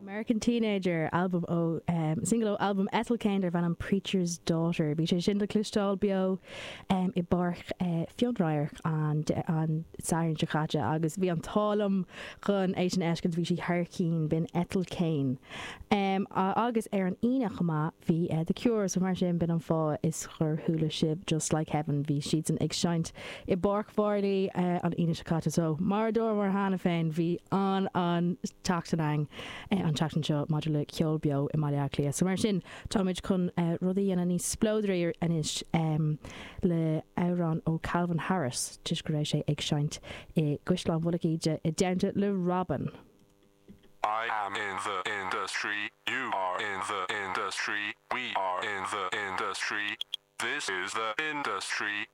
American Teenager, albam ó, single ó albam Ethel Cain darb ainm Preacher's Daughter. Bhí sé sin le cloisteáil beo i bPáirc Fionn Radharc an an Satharn seo caite agus bhí an t-ádh liom chun é sin a fheiscint, bhí sí thar cinn, b'in Ethel Cain. Agus ar an Aoine chomh maith bhí The Cure, so mar sin b'in an fáth is gur chuala sibh Just Like Heaven, bhí siadsan ag seinnt i bPáirc Mharlaí an Aoine seo caite. So mar a dúramar cheana féin bhí an-an-tseachtain ann an tseachtain seo maidir le ceol beo i mBaile Átha Cliath. So mar sin táimid chun rud a dhéanamh níos spleodraí anois le amhrán ó Calvin Harris toisc go raibh sé ag seinnt i gCaisleán Mhullach Íde i dteannta le Robyn. I am in the industry, you are in the industry, we are in the industry, this is the industry.